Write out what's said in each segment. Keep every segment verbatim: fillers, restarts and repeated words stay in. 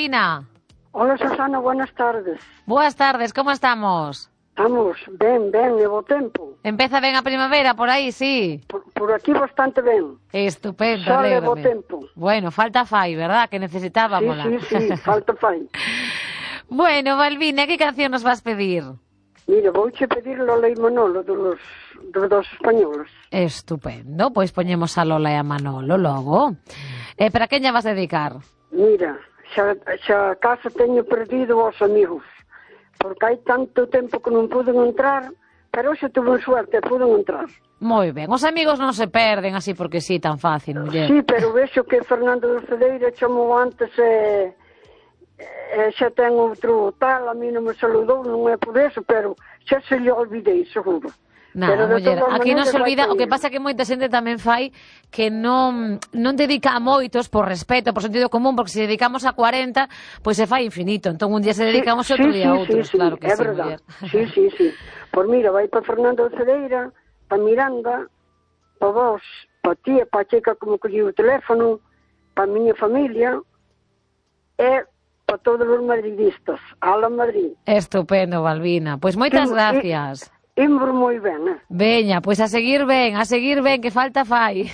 Balbina? Hola, Susana, buenas tardes. Boas tardes, como estamos? Estamos ben, ben, e bo tempo. Empeza ben a primavera por aí, sí? Por, por aquí bastante ben. Estupendo, Sol e bo alégrame. tempo. Bueno, falta fai, verdad? Que necesitábamos. Sí, sí, sí, falta fai. Bueno, Balbina, que canción nos vas pedir? Mira, vouche pedir Lola e Manolo dos, dos dos españoles. Estupendo, pois poñemos a Lola e a Manolo logo. Eh, para quen lla vas dedicar? Mira, xa, xa casa teño perdido os amigos, porque hai tanto tempo que non puden entrar, pero xa tuve suerte, puden entrar. Moi ben, os amigos non se perden así porque sí, tan fácil, muller. Sí, pero vexo que Fernando de Cedeira chamou antes e, e xa ten outro tal, a mí non me saludou, non é por eso, pero xa se lle olvidei, seguro. Nada, muller, aquí non se olvida, o que pasa pasa é que moita xente tamén fai que non non dedica a moitos por respeto, por sentido común, porque se dedicamos a cuarenta, pois se fai infinito, entón un día se dedicamos sí, e outro sí, día a sí, outros, sí, claro que é sí, verdad. muller. Sí, sí, sí. Pois mira, vai para Fernando de Cedeira, para Miranda, para vos, para ti e para a chica como colleu o teléfono, para a miña familia e para todos os madridistas. Ala Madrid. Estupendo, Balbina. Pois moitas Timo, gracias. Imbro moi ben, eh? Veña, pois a seguir ben, a seguir ben, que falta fai.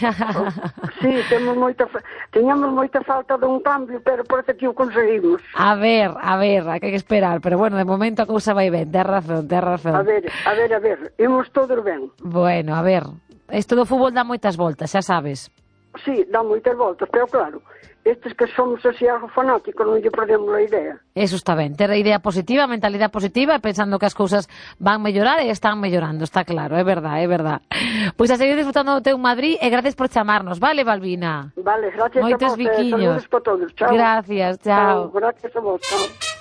Sí, temos moita fa... teñamos moita falta dun cambio, pero parece que o conseguimos. A ver, a ver, hai que esperar, pero bueno, de momento a cousa vai ben, tes razón, tes razón. A ver, a ver, a ver, imos todos ben. Bueno, a ver, isto do fútbol dá moitas voltas, xa sabes. Sí, dá moitas voltas, pero claro, estes que somos así algo fanáticos non lle perdemos a idea. Eso está ben, ter a idea positiva, a mentalidade positiva, pensando que as cousas van mellorar e están mellorando, está claro, é verdad, é verdad. Pois a seguir disfrutando do teu Madrid e gracias por chamarnos, vale, Balbina? Vale, gracias Moitos a vos, biquiños. saludos para todos, chao. Gracias, chao. Chao, gracias a vos, chao.